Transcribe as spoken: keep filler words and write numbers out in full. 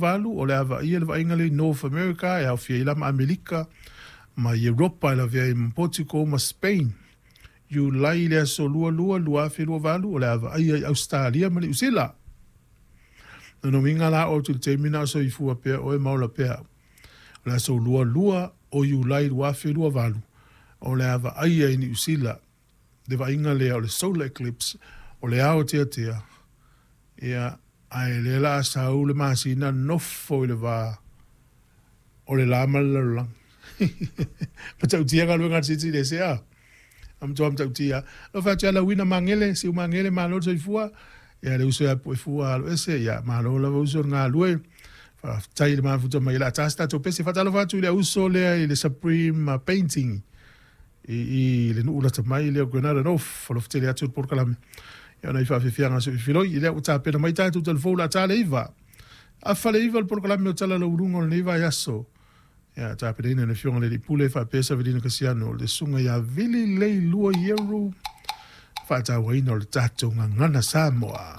Valu, o le a vaaia le vaaiga lea i North America, e aofia ai la ma Amerika ma Europa, e lavea ai ma Portugal ma Spain. Iulai i le aso lua lua lua afe lua valu, o le a vaaia i Ausetalia ma Niu Sila. Lona uiga la o atu i le taimi na o soifua pea oe ma ola pea au. O le aso lua lua o Iulai lua afe lua valu, o le a vaaia i Niu Sila le vaaiga lea o le solar eclipse, o le ao teatea, ia, ae lea la a sau le masina nofo i le va o le la ma le lalolagi. Matautia galuega a le Silisili Ese a? A matua matautia. Alofa atu ia Lauina Magele, Siu Magele, malo le soifua. Ia le uso ia Puefua alo ese, ia malo lava uso le galue. Faafetai i le mafuta mai. O le a ta se tatou pese. Faatalofa atu i le uso lea i le Supreme Painting i, i le nuu lata mai lea o Granada North. Alofa tele atu le polokalame. Ia ona i faafefiaga so i filoi. I lea ua tapena mai tatou telefou la ta le iva. Afa le iva le polokalame o tala lauuluga o lenei vaiaso. Ia tapenaina e le Afioga i le Alii Pule faapea Savelina Kasiano, le susuga ia Vili Leilua Ieru, faatauaina o le tatou gagana Samoa.